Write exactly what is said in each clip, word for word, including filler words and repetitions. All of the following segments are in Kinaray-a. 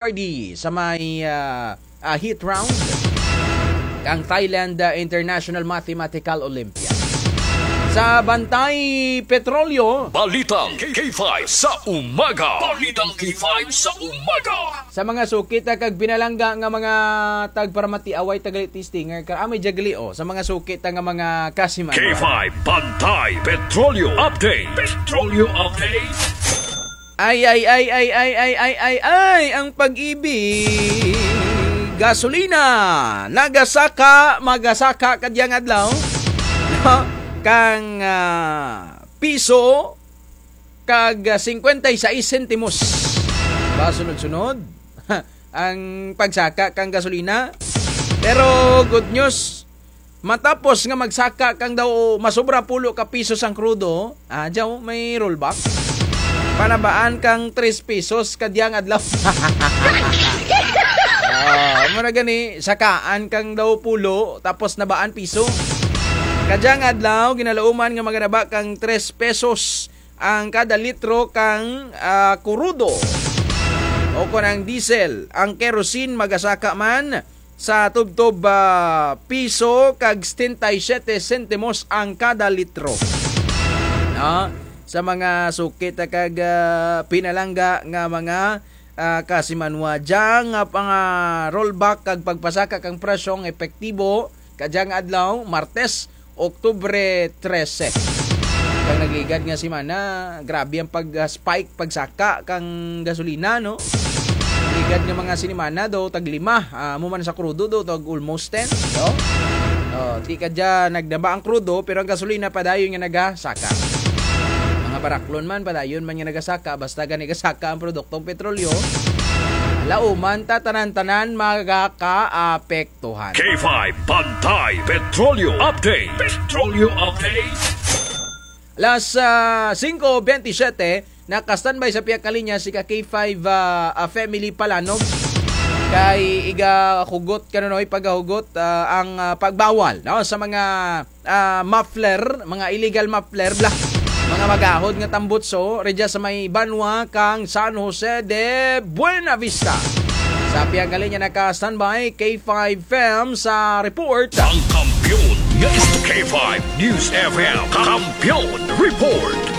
Hardy sa may, ah, ah, heat round kang Thailand, ah, International Mathematical Olympiad. Sa Bantay Petrolyo, Balitang K five sa umaga. Balitang K five sa umaga. Sa mga suki ta kag pinalangga nga mga tagparamati, away ta gali ti stinger, kara may dya gali, o. Sa mga suki ta nga mga kasimanwa. K five Bantay Petrolyo Update. Petrolyo Update. Ay, ay, ay, ang pag-ibig. Gasolina, nagasaka, magasaka kadyang adlaw. No? Kang, ah, piso, kag, ah, singkwenta y sais sentimos. Ba, sunod-sunod ang pagsaka kang gasolina. Pero good news, matapos nga magsaka kang daw masobra pulo ka pisos ang krudo, ah, dya may rollback. Panabaan kang tres pesos kadyang adlaw. Ah, mura gani, sakaan kang daw pulo, tapos nabaan piso. Kadyang adlaw, ginalauman nga maganaba kang tres pesos ang kada litro kang, ah, krudo. O kon ang diesel, ang kerosene magasaka man sa tubtob, ah, piso kag setenta y siete sentimos ang kada litro. No? Sa mga suki ta kag, ah, pinalangga nga mga, ah, kasimanwa, dya nga pang, ah, rollback kag pagpasaka kang presyong epektibo kadyang adlaw, Martes, Oktubre trese. Kang nag-igad nga semana, grabe ang pag, ah, spike, pagsaka kang gasolina, no? Nag-igad nga mga sinimana daw tag lima, ah, amo man sa krudo daw tag almost ten, no? O, ti kadya nagnaba ang krudo, pero ang gasolina padayon nga nagasaka. Mga baraklon man, padayon man nga nagasaka, basta gani gasaka ang produktong petrolyo, lauman ta tanan-tanan magakaapekto. Tuhan. K five Bantay Petrolyo Update. Petrolyo Update. Alas, ah, singko bentisiete, naka-standby sa pihak nga linya si ka K five, ah, ah, family Palanog. Kay igahugot kanunoy, pagahugot, ah, ang, ah, pagbawal, no, sa mga ah, muffler, mga illegal muffler bala. Mga magahod nga tambutso, rugya sa may banwa kang San Jose de Buenavista. Sa pihak nga linya naka-standby, K five F M sa report. Ang kampiyon nga isto-, K five News F M, Kampiyon Report.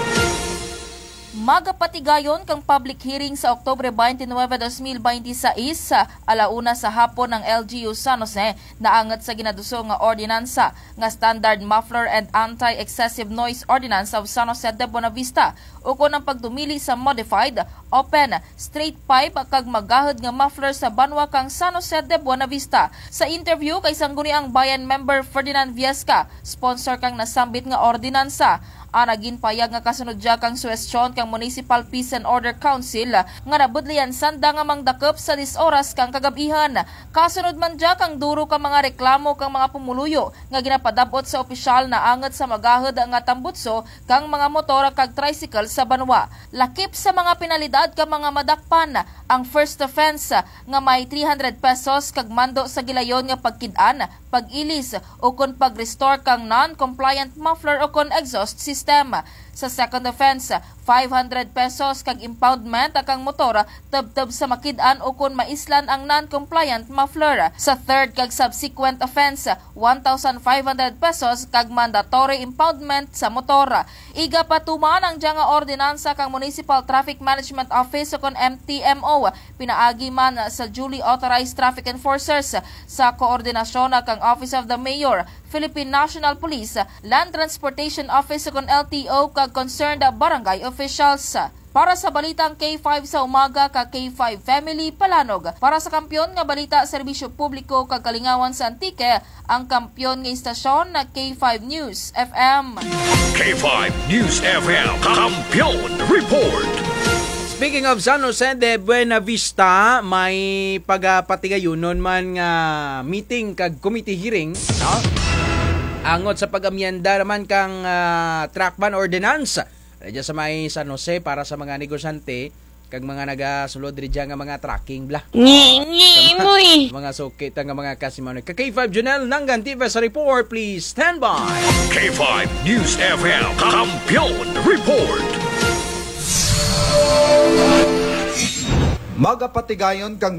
Magapatigayon kang public hearing sa Oktubre twenty-nine, dos mil bente sais, ala una sa hapon ang L G U San Jose, naangot sa ginaduso nga ordinansa nga Standard Muffler and Anti-Excessive Noise Ordinance of San Jose de Buenavista, ukon ang pagdumili sa modified, open, straight pipe kag magahod nga muffler sa banwa kang San Jose de Buenavista. Sa interview kay Sangguniang Bayan member Ferdinand Viesca, sponsor kang nasambit nga ordinansa, ana ginpayag nga kasunod dya kang suhestyon kang Municipal Peace and Order Council nga nabudlayan sanda nga mangdakop sa diyes oras kang kagab-ihan. Kasunod man dya kang duro ka mga reklamo kang mga pumuluyo nga ginapadab-ot sa opisyal naangot sa magahod nga tambutso kang mga motor kag tricycle sa banwa. Lakip sa mga penalidad kang mga madakpan, ang first offense nga may three hundred pesos kag mando sa gilayon nga pagkid-an, pag-ilis, ukon pag-restore kang non-compliant muffler ukon exhaust system. Sa second offense, five hundred pesos kag impoundment kang motor tubtob sa makid-an ukon maislan ang non-compliant muffler. Sa third kag subsequent offense, one thousand five hundred pesos kag mandatory impoundment sa motor. Igapatuman ang dya nga ordinansa kang Municipal Traffic Management Office ukon M T M O, pinaagi man sa duly authorized traffic enforcers sa koordinasyon kang Office of the Mayor, Philippine National Police, Land Transportation Office ukon L T O kag concerned barangay officials. Para sa balitang K five sa umaga, ka K five Family Palanog. Para sa kampiyon nga balita, serbisyo publiko kag kalingawan sa Antique, ang kampiyon nga istasyon na K five News F M. K five News F M, Kampiyon Report. Speaking of San Jose de Buenavista, may pagapatigayunon man nga meeting kag committee hearing, no? Angot sa pag-amyenda naman kang, ah, track ban ordinance. Rugya sa may San Jose para sa mga negosyante, kag mga nagasulod rugya nga mga trucking bala. Ngi, ngi, sa mga, muy. Mga suki ta nga mga kasimanwa. Ka K five Junel Nangan Tiva sa report, please stand by. K five News F M, Kampiyon Report. Magapatigayon kang